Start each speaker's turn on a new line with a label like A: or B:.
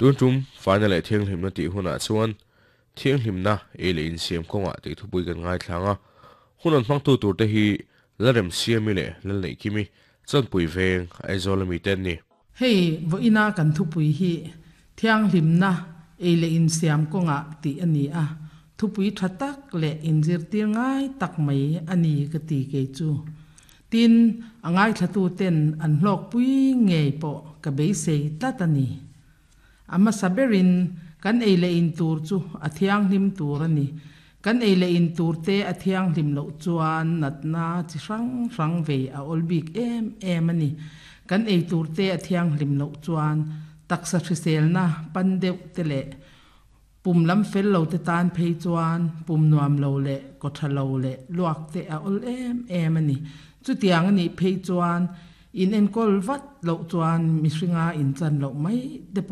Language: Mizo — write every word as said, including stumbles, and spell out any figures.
A: Tun tum faina leh thianghlimna tih hunah chuan thianghlimna ei leh insiam kawngah tih thupui kan ngaithlang a, hun an hmangtu turte hi Lalremsiami leh Lalneihkimi Chawnpui Veng, Aizawl ami te an ni.
B: Hei vawiina kan thupui hi thianghlimna ei leh insiam kawngah tih a ni a, thupui tha tak leh inzirtir ngai tak mai a ni ka ti kei chu. Tin, a ngaithlatuten an hlawkpui ngei pawh ka beisei tlat a ni. A hmasa berin kan ei leh in tur chu a thianghlim tur a ni. Kan ei leh in turte a thianghlim loh chuan natna chi hrang hrang vei a awl bik em em a ni. Kan ei turte a thianghlim loh chuan taksa hriselna pan deuh te leh pum lam fel lo te tan phei chuan pum nuam lo leh kaw tha lo leh luak te a awl em em a ni. Chutiang a nih phei chuan in enkawl vat loh chuan mihringa inchan loh mai te pawh